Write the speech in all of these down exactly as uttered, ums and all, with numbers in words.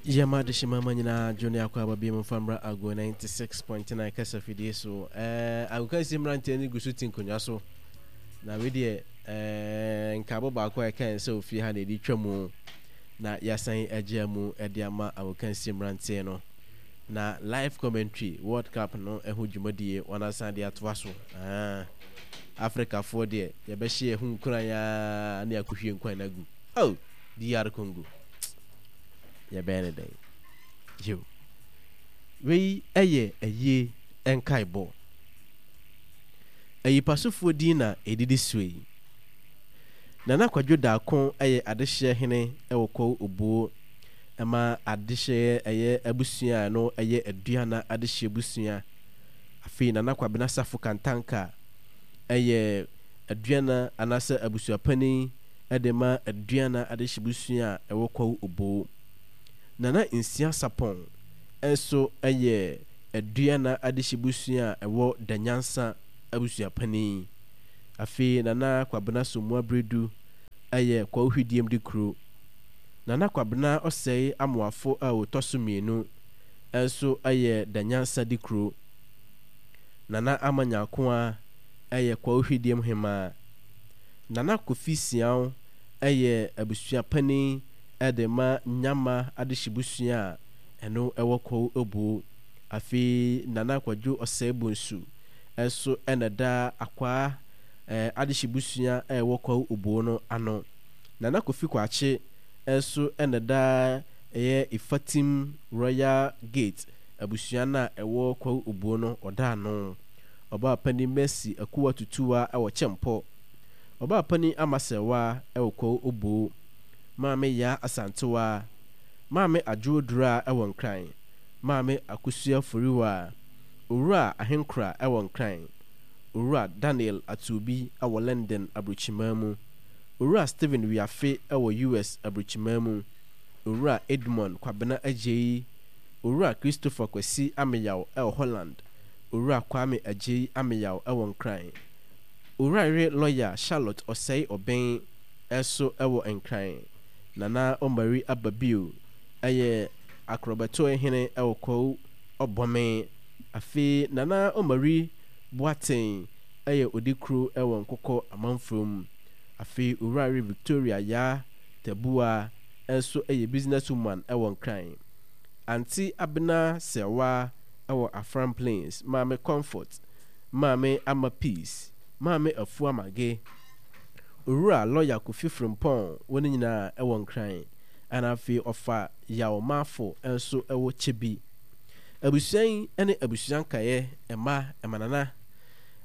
Yɛma adehyema ma nyinaa dwo ne akɔ aba bi mu mfa mmra Ago ninety-six point nine kasa fidie so. Ɛɛ agokansi mmeranteɛ no gu so te nkonnwa so. Na wei deɛ, ɛɛ nkaabɔ baako a ɛka yɛn sɛ ofie ha na yɛde twa mu na yɛasan agya mu de ama agokansi mmeranteɛ no. Na live commentary World Cup no ho dwumadie wɔn asan de atoa so. Ah, Afrikafoɔ deɛ, yɛbɛhyɛ yɛn ho nkuran aa ne akɔhwie nkwan no agu. Oh, D R Congo. Yɛbɛyɛ ne dɛn? Yo. Wei yɛ ayie nkaebɔ. Ayipasofoɔ din na ɛdidi soɔ yi. Nana Kwadwo Darko yɛ adehyeɛ hene wɔ Kwawu Obuo ma adehyeɛ ɛyɛ abusua a ɛno yɛ Aduana adehyeɛ busua. Afei Nana Kwabena Safo Kantanka yɛ Aduana anaasɛ abusuapanin de ma Aduana adehye busua a ɛwɔ Kwawu Oboo. Nana Nsia Sapɔn nso yɛ Aduana adehye busua a ɛwɔ Danyansa abusuapanin. Afei Nana Kwabena Somoa Bredu yɛ Kwawu Hwidiem de kuro. Nana Kwabena Ɔsɛe Amoafo a ɔtɔ so mmienu nso yɛ Danyansa de kuro. Nana Ama Nyakoa yɛ Kwawu Hwidiem hemaa. Nana Kofi Siaw yɛ abusua panin de ma Nyama adehyebusua a ɛno wɔ Kwawu Obuo. Afei Nana Kwadwo Ɔsɛe Bonsu nso na ɛda Akwaa adehyebusua a ɛwɔ Kwawu Obuo no ano. Nana Kofi Kwakye nso na ɛda ɛyɛ Ifatim Royal Gate abusua no a ɛwɔ Kwawu Obuo no ɔda ano. Ɔbaapanin Mercy Akuwa Tutuwa wɔ Kyɛmpɔ. Ɔbaapanin Ama Serwaa wɔ Kwawu Oboo. Maame Yaa Asantewaa. Maame Adwoa Duraa wɔ Nkran. Maame Akosua Foriwaa. Owura Ahenkora wɔ Nkran. Owura Daniel Atuobi wɔ London aburokyiman mu. Owura Stephen Wiafe wɔ U S aburokyiman mu. Owura Edmond Kwabena Agyei. Owura Christopher Kwasi Ameyaw wɔ Holland. Owura Kwame Agyei Ameyaw wɔ Nkran. Owura yere lɔya Charlotte Ɔsɛe Ɔbɛn nso wɔ Nkran. Nana Omari Ababio yɛ akorɔbɛtoe hene wɔ Kwawu Ɔbɔme. Afei Nana Omari Boateng yɛ odikuro wɔ Nkokɔ Amanfrom. Afei Owura yere Victoria Yaa Tabuah nso yɛ business woman wɔ Nkran. Aunty Abena Serwaa wɔ Afram Plains, Maame Comfort, Maame Ama Peace, Maame Afua Mage, Owura Lawyer Kofi Frimpong, wɔn nyinaa wɔ Nkran. Ɛna afei ɔfa Yaw Marfo nso wɔ Kyebi. Abusua yi ne abusua nkaeɛ, mma, mmanana,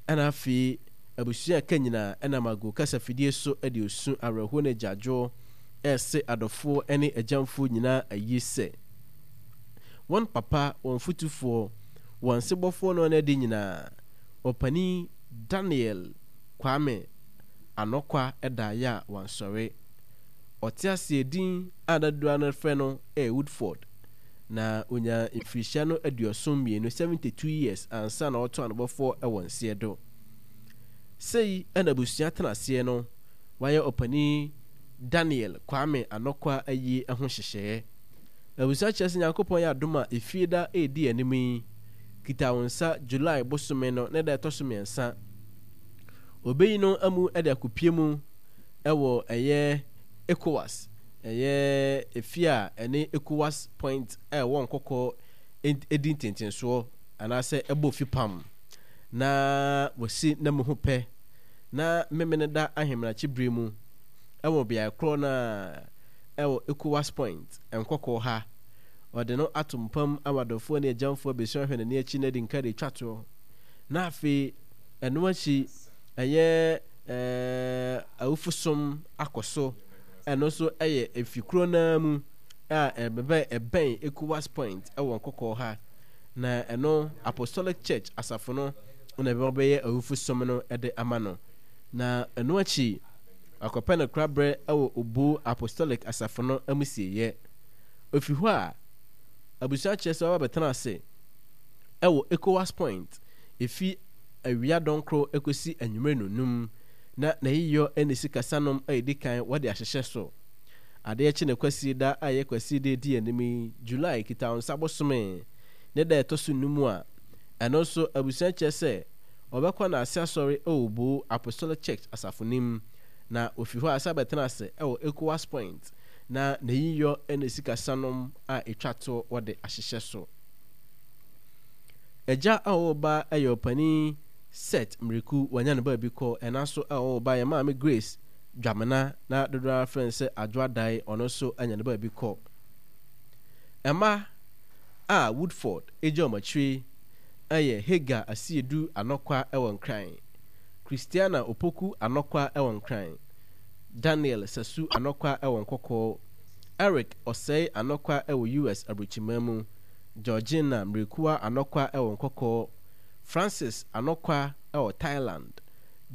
ɛna afei abusua a ɛka nyinaa ɛnam ago kasafidie so de osu, awerɛhoɔ ne agyaadwoɔ ɛrese adɔfoɔ ne agyamfoɔ nyinaa ayie sɛ wɔn papa, wɔn fotufoɔ, wɔn sebɔfoɔ no ne ade nyinaa, Ɔpanin Daniel Kwame Anokwa daeɛ a wansɔre. Ɔte aseɛ din a na dodoɔ no frɛ no yɛ Woodford. Na ɔnyaa mfirihyia no aduɔson mmienu, seventy-two years, ansa na ɔreto anobɔfoɔ wɔ nseɛ do. Sei na abusua tenaseɛ no wayɛ Ɔpanin Daniel Kwame Anokwa ayie ho nhyehyɛeɛ. Abusua kyerɛ sɛ Nyankopɔn yɛ adom a efie da redi anim yi, kita wo nsa July bosome no ne da ɛtɔ so mmiɛnsa. Obeyi no amu de akɔpie mu wɔ ɛyɛ ECOWAS, ɛyɛ efie a ɛne ECOWAS Point a ɛwɔ Nkɔkɔ di ntentensoɔ anaasɛ ɛbɔ fipam na wasi n'amu ho pɛ na Memeneda ahemanakye bere mu wɔ beae korɔ no ara wɔ ECOWAS Point, Nkɔkɔɔ ha. Ɔde no ato mpam ama adɔfoɔ ne agyamfoɔ abɛsua ahwɛ n'ani akyi na adi nka de atwa toɔ. Na afei ɛno akyi ɛyɛ ɛɛ awufosom akɔ so. Ɛno nso ɛyɛ efi kuro no ara mu a ɛbɛn ɛbɛn ECOWAS Point wɔ Nkɔkɔɔ ha. Na ɛno Apostolic Church asafo no na ɛbɛba bɛyɛ awufosom no de ama no. Na ɛno akyi wakɔpɛ no koraberɛ wɔ Obu Apostolic asafo no amusieeɛ. Ofi hɔ a, abusua kyerɛ sɛ waba bɛtena ase wɔ ECOWAS Point efi awia dɔnkoro kɔsi anwummere nnɔnnum, na n'ayiyɔ ne sikasanom a edi kan wɔde ahyehyɛ so. Adeɛ kye ne Kwasiada a ɛyɛ Kwasiada edi anim yi, July Kitawonsa bosome ne da a ɛtɔ so nnum a, ɛno nso abusua kyerɛ sɛ ɔbɛkɔ Naase Asɔre wɔ Oboo Apostolic Church asafo no mu, na ofi hɔ a asan abɛtena ase wɔ Ecowas Point na n'ayiyɔ ne sikasanom a etwa toɔ wɔde ahyehyɛ so. Agya a ɔwɔ ba yɛ ɔpanin Seth Miriku, wanya ne baabi kɔ, ɛna nso a ɔwɔ ba yɛ Maame Grace Dwamena na dodoɔ ara frɛ no sɛ Adwoa Dae, ɔno nso anya ne baabi kɔ. Mma a Woodford gya wɔn akyire yɛ Hagar Asiedu Anɔkwa wɔ Nkran, Christiana Opoku Anɔkwa wɔ Nkran, Daniel Sasu Anɔkwa wɔ Nkɔkɔɔ, Eric Osei Anɔkwa wɔ U S Aburokyiman mu, Georgina Mmirikua Anɔkwa wɔ Nkɔkɔɔ, Francis Anɔkwa wɔ Thailand,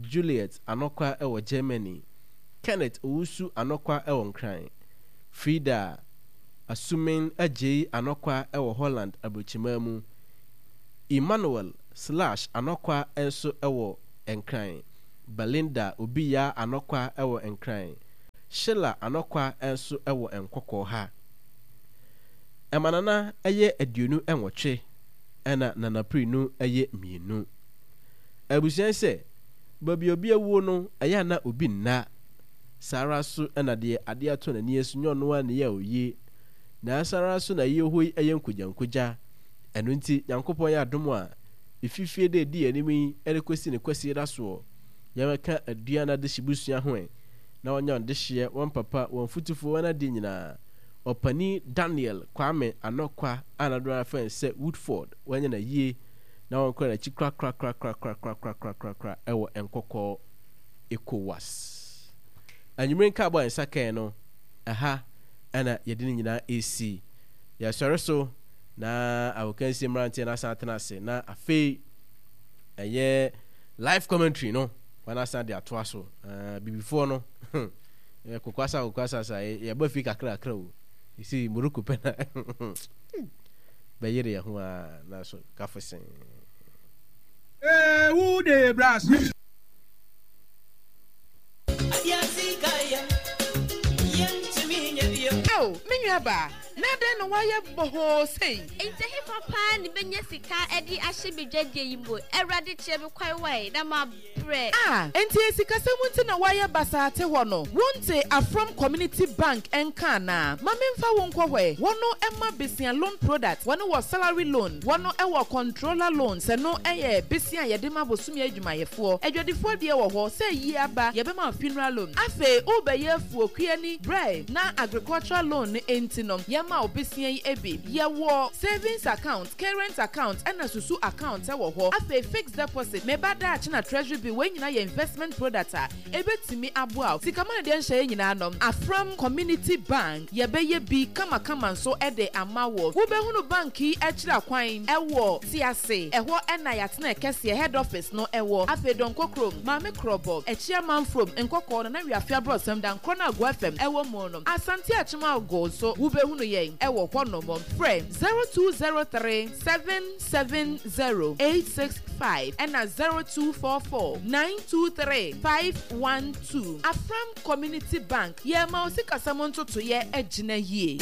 Juliet Anɔkwa wɔ Germany, Kenneth Owusu Anɔkwa wɔ Nkran, Frida Asumin Agyei Anɔkwa wɔ Holland Aburokyiman mu, Emmanuel Slash Anɔkwa nso wɔ Nkran, Belinda Obiya Anɔkwa wɔ Nkran, Sheila Anɔkwa nso wɔ Nkɔkɔɔ ha. Ɛmanana yɛ aduonu nwɔtwe ɛna nanapirinu yɛ mmienu. Abusua yi sɛ, baabi a obi awuo no, ɛyɛ a na obi nna. Saa ara nso na deɛ adeɛ atɔ n'ani so nyɛ ɔno ara ne yɛ a ɔyie. Na saa ara nso na yie hɔ yi yɛ nkogyankogya. Ɛno nti, Nyankopɔn yɛ adom a, ɛfiri fie da ɛdi yɛn anim yi de kɔsi ne Kwasiada soɔ, yɛbɛka Aduan Adehye busua ho ɛ, na wɔanya wɔn dehyeɛ, wɔn papa, wɔn fotufoɔ, wɔn adeɛ nyinaa. Ɔpanin Daniel Kwame Anokwa a na dodoɔ no ara frɛ no sɛ Woodford, wanya no ayie na wɔnkora n'akyi korakorakorakorakorakorakorakora wɔ Nkɔkɔɔ ECOWAS. Anwummere nkaabɔ a yɛn nsa kae no, ɛha na yɛde ne nyinaa resi. Yɛsɔre so na agokansie mmeranteɛ no asan atena ase na afei ɛyɛ live commentary no wɔn asan de atoa so. Uh, bibifoɔ no kokwasa kokwasa sa yɛba fi kakra kakra o. Ɛsi Morocco pɛ na bɛyere yɛn ho a na so kafo sen. Ewu de brass. Ao, me nuabaa, na adɛn na woayɛ bɔhɔɔ sei? Enti ɛhefa paa ne mɛnya sika de ahyɛ me dwadie yi mu? Awurade kyerɛ me kwan wae, na mabrɛ. A, enti sikasɛm nti na woayɛ basaa te hɔ no? Wonte Afram Community Bank nka anaa? Ma memfa wo nkɔ hɔ ɛ. Wɔno ma besia loan product, wɔno wɔ salary loan, wɔno wɔ controller loan, sɛ no yɛ besia a yɛde ma bosome adwumayɛfoɔ. Adwadifoɔ deɛ wɔ hɔ, sɛ yie aba, yɛbɛma wo funeral loan. Afei worebɛyɛ afuo kuani, brɛ na agricultural loan no nti no, yɛma wo besia yi bi. Yɛwɔ savings account, current account, ɛna susu account wɔ hɔ. Afei fixed deposit, meba daakye na treasury bill, wei nyinaa yɛ investment product a ebetumi aboa wo. Sika ma no deɛ nhyɛ yɛ nyinaa no, Afram Community Bank, yɛbɛyɛ bi kamakama nso de ama wo. Wobɛhunu bank yi akyiri akwan ɛwɔ Tiase, ɛhɔ ɛna yɛatena kɛseɛ head office no ɛwɔ. Afei Dɔnkɔ kurom, Maame Korɔbɔ, Akyia Manfrom, Nkɔkɔɔ, Nana Wiafe Aborɔsɛm, Dankorɔ no Agoa F M ɛwɔ mu no. Asante Akyem Ago nso wobɛhunu yɛn ɛwɔ hɔnom. Frɛ zero two zero three seven seven zero eight six five ɛna zero two four four nine two three five one two. Afram Community Bank, yɛma wo sikasɛm ntotoyɛ agyina yie.